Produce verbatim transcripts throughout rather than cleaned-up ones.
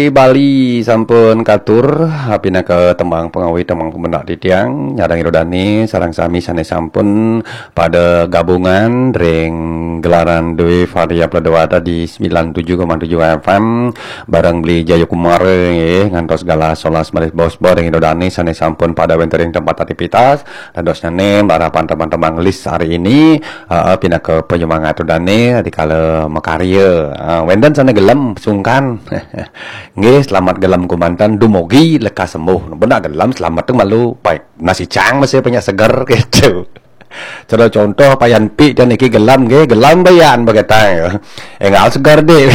Bali sampun katur, pinaka tembang pangawi, tembang pamendak titiang, nyarengin ida dane sareng sami sane sampun pada gabungan ring gelaran Dwi Varia Pledewata di sembilan tujuh koma tujuh F M, bareng Beli Jayakumara, nggih, ngantos galah solas malih bos-bos ring ida dane sane sampun pada wenten ring tempat aktivitas, dadosnyane harapan tembang-tembang list hari ini, heeh, pinaka panyemangat ida dane dikala makarya. Ah, wenten sane gelem, sungkan. Nggih, selamat gelem kumanten, dumugi lekas sembuh. Benak gelem, selamat tu malu. Pai, nasi cang masih banyak seger, gitu. Cara contoh, Payan Pi dan niki gelem, nggih, gelem bayan begetang, ya. Enggal seger, deh.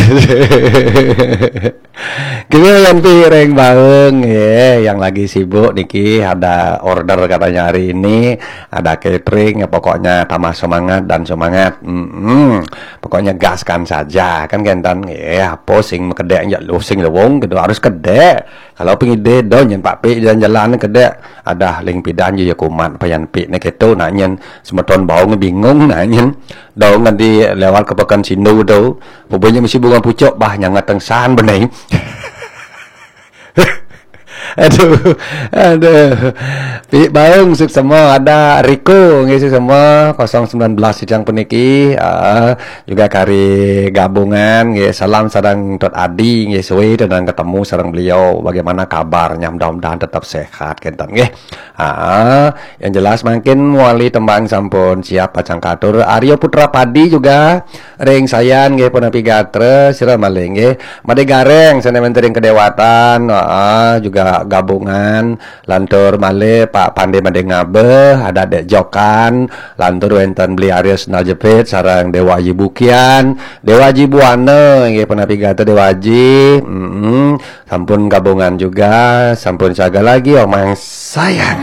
Kita Payan Pi ring Baung, ya, yang lagi sibuk niki ada order katanya hari ini, ada catering, ya, pokoknya tambah semangat dan semangat. Mm-mm. Pokoknya gaskan saja, kan kenten. Ya, apa sing makedek, ya, lu sing lewong, gitu, harus kedek. Kalau pengide do nyen Pak Pi jalan-jalan kedek, ada ling pidan je ya kumat Payan Pi ne keto, nak nyen semeton Baung bingung, nak nyen do ngadi lewat ke Pekan Sindu tu. Pokoknya mesti bunga pucuk bah nyang ngateng san benai. Aduh, aduh. Pi Baung suksema, ada Riko nggih suksema kosong sembilan belas sidang puniki. Ah, juga kari gabungan nggih, salam sareng Tot Adi nggih, suwe tedang ketemu sareng beliau. Bagaimana kabarnya? Mudah-mudahan tetap sehat kenten nggih. Ah, yang jelas mangkin wali tembang sampun siap pacang katur. Aryo Putra Padi juga ring Sayan nggih, punapi gatra, sira malih nggih. Made Gareng sane wenten ring Kedewatan, ah, juga gabungan. Lantur malih Pak Pande Made Ngabeh, ada Dek Jokan, lantur wenten Beli Aryo Sendal Jepit sareng Dewa Aji Bukian, Dewa Aji Buana nggih, punapi gatra Dewa Aji. Mm-mm. Sampun gabungan juga, sampun saga lagi omang sayang.